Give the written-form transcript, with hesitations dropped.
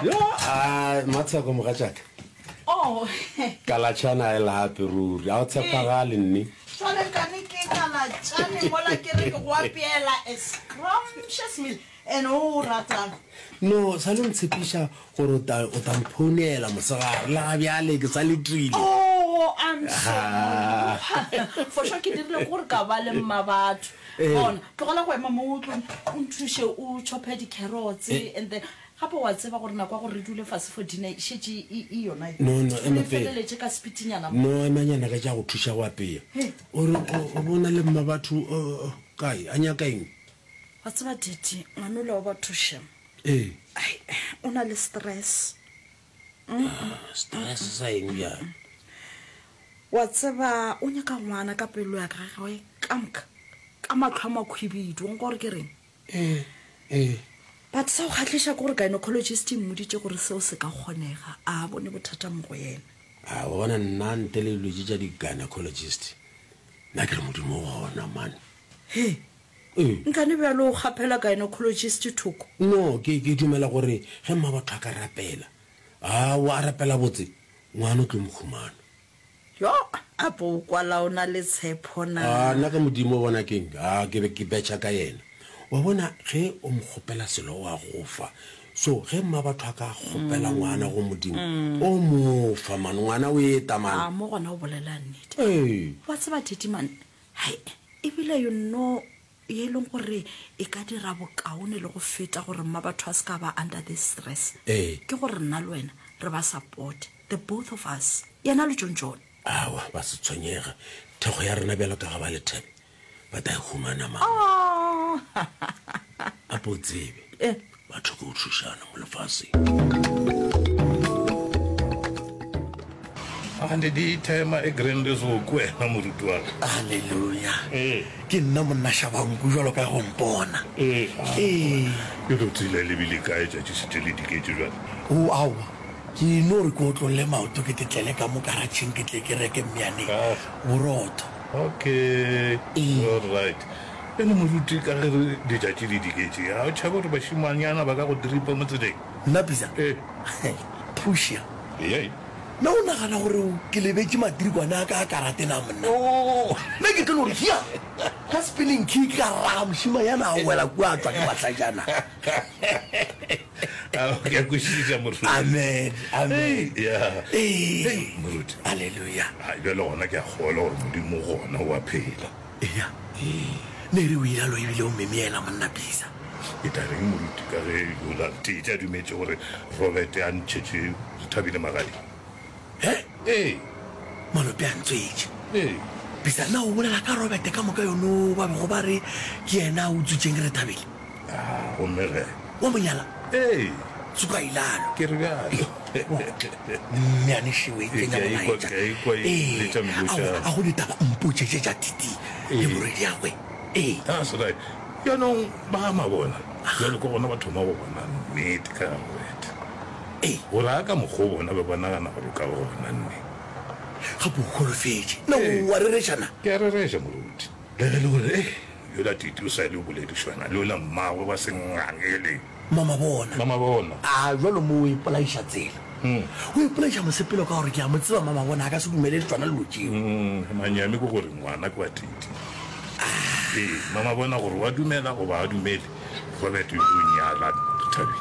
Yo, a Matsheko mogatšaka. Oh. Kalatšhana a e lape ruri. A o tshepagale nne. Jwale nkane ke kalatšane mola ke re ke go apeela a scrumptious meal and o o ratang. No, sa le ntshepiša gore o tla o tla mphounela mosegare le ga bjale ke sa letile. Oh, I'm sorry. For sure ke dirile gore ka ba le mma batho. Bona, tlogela go ema mo o tlo o nthuše o chophe di-carrots and then gape wa tseba gore nako ya gore re dule fase for dinner e šetše e e yona e. No, no, ema Re pele. feleletše ka sepitinyana mo. No, emanyana ka tša go thuša go apea. O re o bona le mma batho kae? A nyaka eng? Wa tseba Daddy, ngwanola wa batho shem. Ee. Ai, o na le stress. Stress sa eng bjale? Wa tseba o nyaka ngwana ka pelo ya gagwe ka moka, ka mahlo a makhwibidu, wa nkwa gore ke reng? Ee, ee. But sa go kgahliša ke gore gynecologist e mmoditše gore seo se ka kgonega, a bone bothata mo go yena. A wa bona nna ntle le dilo tše tša di-gynecologist, nna ke re Modimo o gona man. He, Ee. nkane bjalo o kgaphela gynecologist thoko? No, ke, ke dumela gore ge mmabatho a ka rapela, aowa, a rapela botse, ngwana o tlo mo humana. Yo, apo o kwala o na le tshepho na? A, nna ka Modimo, o bona keng? A, ke be ke betšha ka yena. Wa bona, ge o mo kgopela selo, o a go fa. So, ge mmabatho a ka kgopela ngwana go Modimo, o mo fa, man. Ngwana o eta, man. A, mo gona o bolela nnete. Ee. Wa tseba, Teddy, man, Hai, ebile you know ye e leng gore e ka dira bokaone le go feta gore mma batho a se ka ba under this stress Ee. ke gore nna le wena re ba support the both of us yena le John John. Aowa, ba se tshwenyege. Thekgo ya rena bjalo ka ga ba lethebe ba tla e humana mang. Oh. Ape o tsebe, Eh. batho ke go thušana mo lefaseng. Ande di thema e grande so ke wena moruti wa ka. Haleluya. Ee. Ke nna monna Shabanku jwalo ka go mpona. Ee. Ee. Ke tlo tsela e lebile kae tšatši šetše le diketše bjale? O aowa. Ke no re ke otlolle maoto ke tetlele ka mo karatšheng ke tle ke reke mmyane borotho. Okay. Ee. All right. Bjale moruti ka ge re letšatši le diketše, a o tšhabe gore bašemanyana ba ka go dripa mo tseleng? Nna Bisa? Ee. Phušia. Ee. Na o nagana gore ke lebetše matirikwane a ka a karate na monna? Nna ke tlo no re hia! Ka spinning kick ka raga mošemanyana a wela kua a tšwa ke mahlajana. Ao, ke a kwešiša moruti. Amen, amen. Ya. Ee. Moruti. Haleluya. Hai, bjale gona ke a kgolwa gore Modimo gona o a phela. Eya. Ne re o ilalo ebile o memela monna Bisa. Ke tla reng moruti ka ge yola Tete a dumetše gore Robert a ntšhetše Rethabile magadi? He? Ee. Malope a ntswetše. Ee. Bisa, na o bolela ka Robert ka moka yono ba bego ba re ke yena a utswitšeng Rethabile? A gomme ge? Wa mo nyala? Ee. Tsuka ilalo. Ke re bjalo. Mmeane šeo e tsenya Ke a ikwa, molaetša. ke a ikwa e Ee. letša melotšana. A go ditaba mpotše tše tša Titi le morwediagwe. Ee. That's right. Bjanong ba mabona bjalo ke gona ba thoma go bona nnete ka ga Robert. Ee. Gore a ka mokgwa o bona be ba nagana gore o ka ba gona nne. Gape o holofetše. Na o a rereša na? Ke a rereša, moruti. Le ge e le gore, eh, yola Titi o sa le o boledišana le yola mmagwe wa sengangele. Mamabona. Mamabona. A bjalo mo o ipolaiša tsela. O ipolaiša mosepelo ka gore ke a mo tseba Mamabona a ka se dumelele tšona dilo tšeo. Manyami ke gore ngwana ke wa Titi. Ee, Mamabona gore o a dumela goba a dumele, Robert o nyala Rethabile.